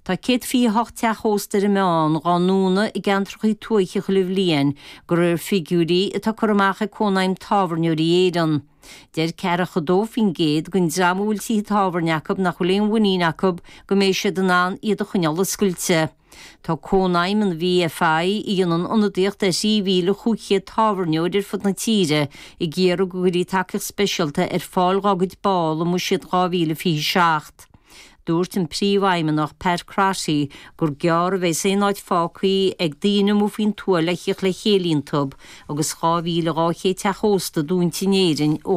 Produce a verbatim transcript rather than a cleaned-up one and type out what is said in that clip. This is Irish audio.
Tá céad fiche hocht teach ósta ar an meán dhá ndúnadh i gceantracha tuaithe chuile bhliain, de réir figiúirí atá curtha amach ag Cónaidhm Tábhairneoirí Éireann. Deir ceathracha dó faoin gcéad den dream a bhfuil tithe tábhairne acu nach bhfuil aon mhuinín acu go mbeidh siad in ann iad a choinneáil oscailte. Tá Cónaidhm an VFI a dhéanann ionadaíocht ar thrí mhíle chúig chéad tábhairneoir ar fud na tíre ag iarraidh go gcuirfí tacaíocht speisialta ar fáil dá gcuid ball i mbuiséad dhá mhíle fiche seacht. Dúirt an príomhfheidhmeannach Pat Crotty gur gearr a bheas aon áit fágtha ag daoine amuigh faoin tuath le theacht le chéile iontu agus dhá mhíle dhá chéad teach ósta dúnta in Éirinn ó